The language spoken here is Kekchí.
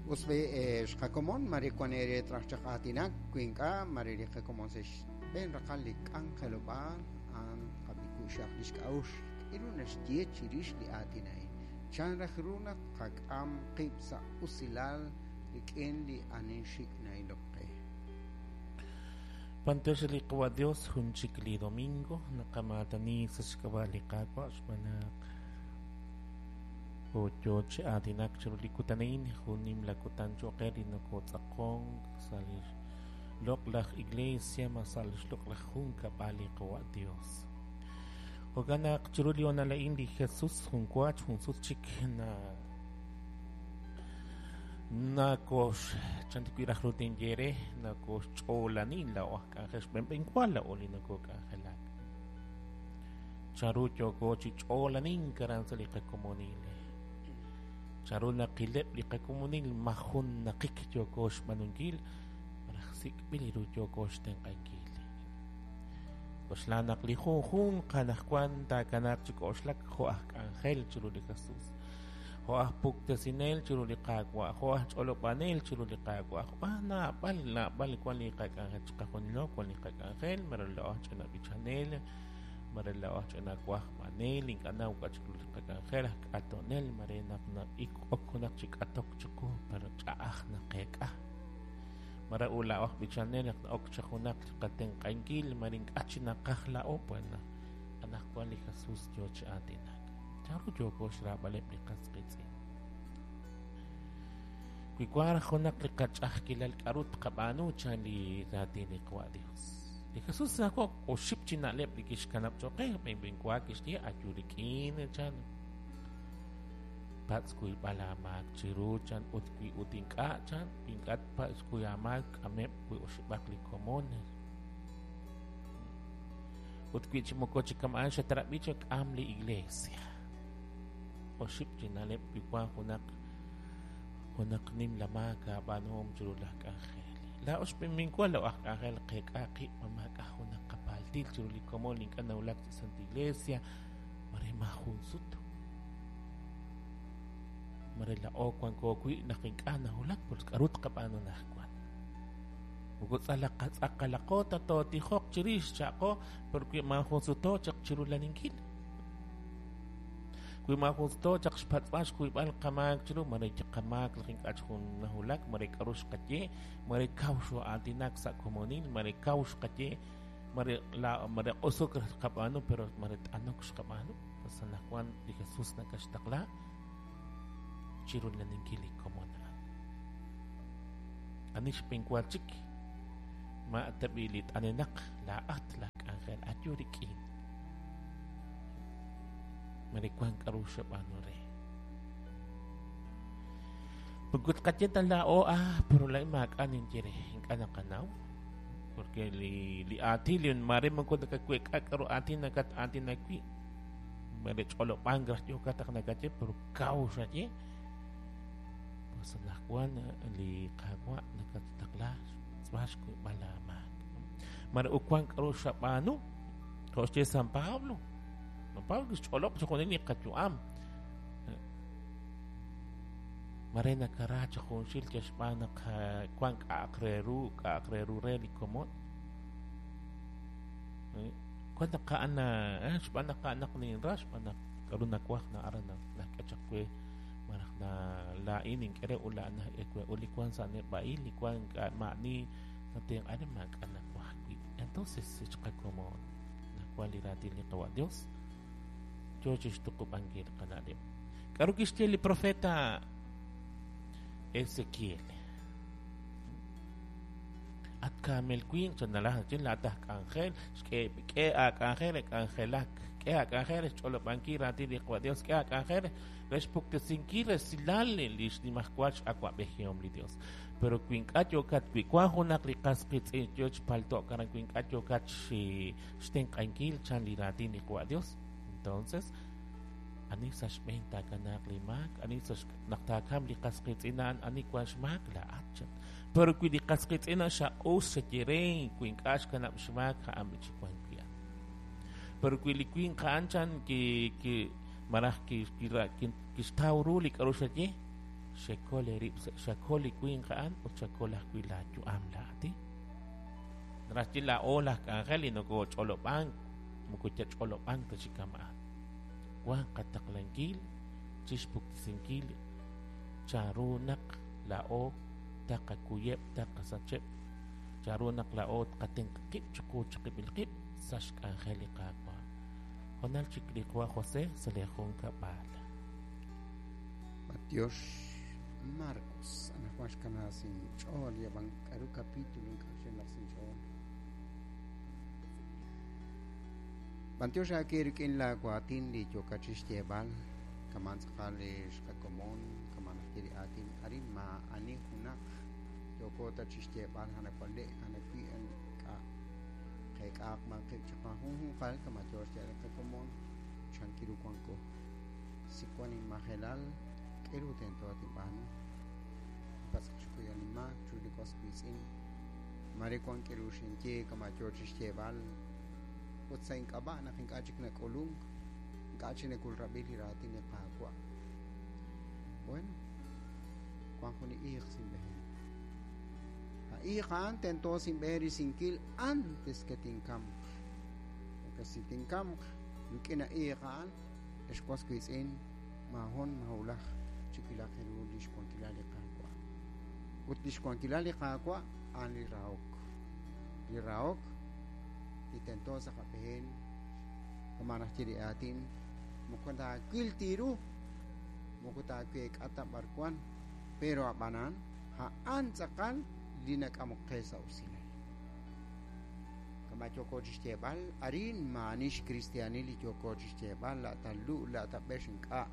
Us b'i' xqakomon mare wan eere traj chaq aatinak wi ink'a' mare li qakomon sa' xb'een raqal li k'anjelob'aal a'an qab'i ku'xaq li xk'a'uxl k'aru naxye chirix li aatin a'in chan raj ru naq qak'am qib' sa' usilal rik'in li ani xik' na'ilok qe. B'antiox li Qawa' Dios jun chik li domingo naqamaatani sa' xk'ab'a' li Qaawa' xb'aan naq yoo chi aatinak chiru li kutan a'in jun nimla kutan cho'q qe li nokotz'aqonk sa' li loq'laj iglesia ma sa' li xloq'laj junkab'al li Qawa' Dios. Jo'kan naq chiru li honal a'in li Jesus jun waach jun sut chik na nakox chantikwi raj ru tinye re nakoxch'oolani laa'o aj k'anjel xb'enb'enwa laa'o li nokok'anjelak chanru yooko chi ch'oolanink aran sa' li qakomonil chanru naqileb' li qakomonil majun naqik yooko xb'aanunkil malaj sik'b'il ru yooko xtenq'ankil. K'oxla naq li junjunq anaqwan taakanaaq chi k'oxlak jo' aj k'anjel chiru li Jesus, jo' aj puktesinel chiru li Qaawa', jo' aj ch'olob'anel chiru li Qaawa'. Naab'al naab'al wan li qak'anjel chiqajunilo wan li qak'anjel mare laa'o aj ch'ina b'ichanel, mare laa'o aj ch'ina wajb'anel, ink'a' naw k'a' chiru li qak'anjel aj k'atonel, mare naq ok junaq chi k'atok chiqu pero ch'a'aj naqeek'a. Mare u laa'o aj b'ichanel naq ok chi junaq qatenq'ankil mare ink'a' chi naqaj laa'o pues anaqwan li Jesus yoo chi aatinak. Chanru yooko xraab'aleb' li qas qiitz'in. Wi wan junaq li qach'a'ajkilal k'aru tqab'aanu chan li raatin li Qawa' Dios. Li Jesus nako oxib' chi na'leb' li kixkanab' cho'q qe b'enb'enwa kixye ayu rik'in chan patz' kuyb'al aamaak chiru chan ut wi ut ink'a' chan wi ink'a' patz' kuy aamaak k'ameb' wi oxib'aq li komon ut wi chi moko chi kama'an xatrab'i chak'am li iglesia. Oxib' chi na'leb' wi wan junaq junaq nimla maak aab'aanuhom chiru laj k'anjel. Laa'o xb'enb'enwa laa'o aj k'anjel qeek'a qib' ma maak'a' junaq qapaltil chiru li komon li ink'a' nawulak sa' Santa Iglesia mare maajun sut. Mare laa'o wanko wi' naq ink'a' nawulak pues k'aru tqab'aanu anaqwan. Moko tz'aqalaqo ta tootijoq chirix cha'qo porque maajun suto chaq chiru laninkil. Wi maajun suto chaq xpatz'b'al xkuyb'al qamaak chiru mare qamaak laj ink'a' jun nawulak mare k'aru xqaye mare kaw xoo'aatinak sa' komonil mare kaw xqaye mare la mare q'usuk xqab'aanu pero mare t'anok xqab'aanu pues anaqwan li Jesus nakaxtaqla chiru laninkil li komon a'an. Ani xb'enwa chik ma tab'i li t'anenaq laa'at laj k'anjel ayu rik'in. Mare wan k'aru xab'aanu re. Pagkut qaye ta laa'o pero laa'in maak'a' ninye re ink'a' naqanaw porque li aatin li mare moko nakaweek'a k'aru aatin nakat aatinak wi' mare ch'olob'ank raj yookat taq nakaye pero kaw xaye pues anaqwan li Qaawa' nakattaqla xtz'b'al xkuyb'al aamaak. Mare uwan k'aru xab'aanu jo' xye San Pablo. San Pablo kixch'olob' chi junil li qayu'am. Mare nakara chi junxil yal xb'aan naq wan k'a'aq re ru k'a'aq re ru re li komon. Wan naq a'an xb'aan naq a'an naq ninra xb'aan naq k'aru nawaj na'ara nak'e chaq we malaj na laa'in ink'e re ut la'an nak'e we ut li wan sa' neb'a'il li wan k'a' ma'ani natenq'an re maak'a' nawaj wi'. Entonces xqakomon nawan li raatin li Qawa' Dios yoo chi xtuqub'ankil qana'leb'. K'aru kixye li profeta Ezequiel? At kaamel winq chanalaj chin laa'at aj k'anjel xk'e aak'anjel re k'anjelak k'e aak'anjel re xch'olob'ankil raatin li Qawa' Dios k'e aak'anjel re xpuktesinkil resilal li xnimajwal x'awa'b'ejihom li Dios. Pero wi ink'a' yookat wi wan junaq li qas qiitz'in yoo chi palto'k aran wi ink'a' yookat xtenq'ankil chan li raatin li Qawa' Dios entonces ani sa' xb'een taakanaaq li maak ani sa' naq taakam li qas qiitz'in a'an ani wan xmaak laa'at chan. Pero wi li qas qiitz'in a'an xaq'us xaye re wi ink'a' xkanab' xmaak a'an chi wan wi' a'an. Pero wi li winq a'an chan ki ki malaj kixtaw ru li k'aru xaye Xekol eerib', xakol li winq a'an ut xakol ajwi' laayu'am laa'at. Naraj xye laa'o laj k'anjel li nokooch'olob'ank, moko yach'olob'ank ta chi kama'an. Wank qataqlankil chixpuktesinkil chanru naq laa'o taqakuyeb', taqasacheb', chanru naq laa'o tqatenq' qib' chiqu chiqib'il qib' sa' xk'anjel li Qaawa'. Honal chik li Qawa' José sa' li junkab'al. Matiox Marcos, anaqwan xkana sinch'ool yab'an k'aru capítulo ink'a' xinlaj sinch'ool. B'antiox aake rik'in laawaatin li yookat chi xyeeb'al kaman tz'aqal li xqakomon kaman ajwi' li aatin arin maa'ani junaq yooko ta chi xyeeb'al anawale' anawi' ink'a' qeek'aaq b'an qib' chiqajunjunqal kama yoo xyeeb'al li qakomon chankiru wanko si wan inmajelal k'eru tento tinb'aanu patz'aq xkuyal inmaak chu li was wiitz'in mare wan k'eru xinye kama yoo chi xyeeb'al ut sa' ink'ab'a' naq ink'a' chik nak'ulunk ink'a' chik nakulrab'i li raatin li Qaawa'. Bueno, wan jun li iiq sinb'ehen. A iiq a'an tento sinb'erisinkil antes que tinkamq. Porque si tinkamq rik'in a iiq a'an, ex was wiitz'in maahon mahulaj chiwilaq ru li xwankilal li Qaawa'. Ut li xwankilal li Qaawa' a'an li rahok. Li rahok li tento sa' qab'een kama najye li aatin moko taawil tiru moko taaweek'a ta b'arwan pero ab'anan a'an tz'aqal li nak'amok qe sa' usilal. Kama yooko chi xyeeb'al arin maani xkristianil li yooko chi xyeeb'al la' ta lu' la' ta b'ex ink'a'